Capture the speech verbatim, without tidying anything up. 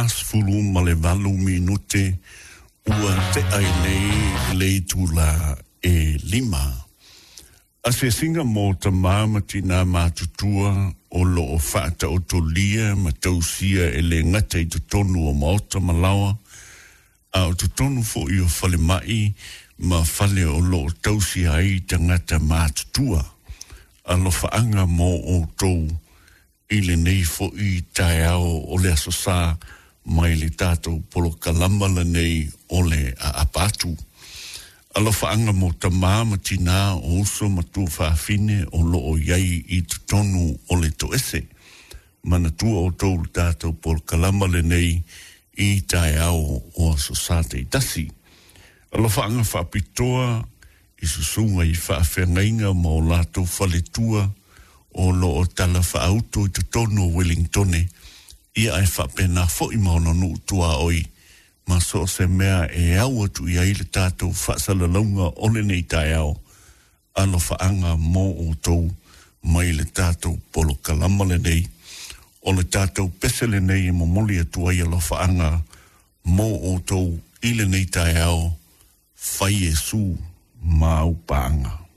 fasefulu ma le valu minute ua te'a ai nei le itulā e lima. Asiasiga mo tamā ma tinā matutua o loo faataotolia ma tausia e le gata i totonu o maota ma laoa, a o totonu fo'i o falema'i ma fale o loo tausia ai tagata matutua. Alofaaga mo outou i lenei fo'i taeao o le Aso Sa mai le tatou polokalama lenei o le Aapa Atu. Alofaaga mo tamā ma tinā o uso ma tuafafine o loo i ai i totonu o le toese. Manatua outou le tatou polokalama lenei i taeao o Aso Sa taitasi. Alofaaga faapitoa i susuga i faafeagaiga ma o latou faletua o loo tala faauto i totonu o Wellingtone, ia ae faapena fo'i ma ona nuu tuaoi ma so o se mea e au atu i ai le tatou faasalalauga o lenei taeao. Alofaaga mo outou mai le tatou polokalama lenei. O le tatou pese lenei e momoli atu ai alofaaga mo outou i lenei taeao. Fai Iesu ma au paaga.